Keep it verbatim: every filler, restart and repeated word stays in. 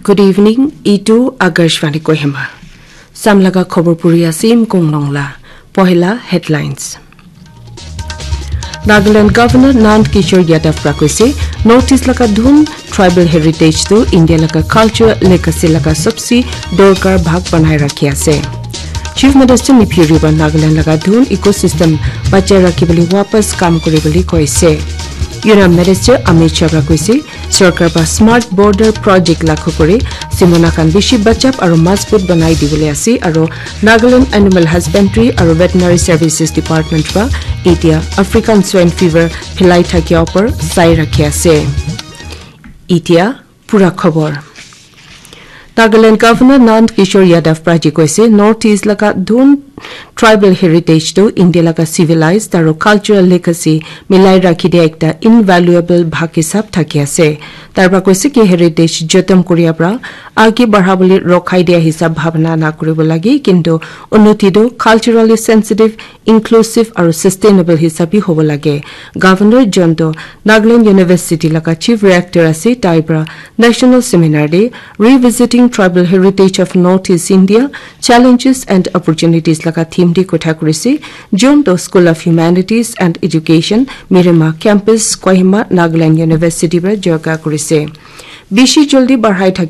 Good evening, itu Akashvani Kohima. Samlaga khobor puri asim kong nongla. Pohela headlines. Nagaland Governor Nand Kishore Yadav pra koise, North East laga dhun tribal heritage tu India laga culture legacy laga sabse dorkar bhag banai rakhi ase. Chief Minister Neiphiu Rio pra Nagaland laga dhun ecosystem bachai rakhi bole wapas kam kuri bole koise. Union Minister Amit Shah pra koise, Sarkar pra Smart Border Project lakho kore simona khan bishi bachap aro mazbut banai dibole ase aro Nagaland Animal Husbandry aro Veterinary Services Department pra etia African Swine Fever philai thakia upor sai rakhi ase. Etia pura khobor. Nagaland Governor Nand Kishore Yadav pra ji koise, North East laga dhun tribal heritage tu India laga civilized aro cultural legacy milai rakhi dia ekta invaluable bhag hisab thaki ase. Tar pra koise ki heritage jotom kuria pra age barha bole rokhai dia hisab bhabna na kuribo lage, kintu unnoti tu culturally sensitive, inclusive aro sustainable hisab bi hobo lage. Governor John Doe Nagaland University laga Chief Reactor ase, tai pra National Seminar de Revisiting Tribal Heritage of Northeast India, Challenges and Opportunities laga theme de kotha kurise. John Doe School of Humanities and Education, Mirema Campus, Kohima, Nagaland University pra jorga kurise. Bishi joldi barhai thaki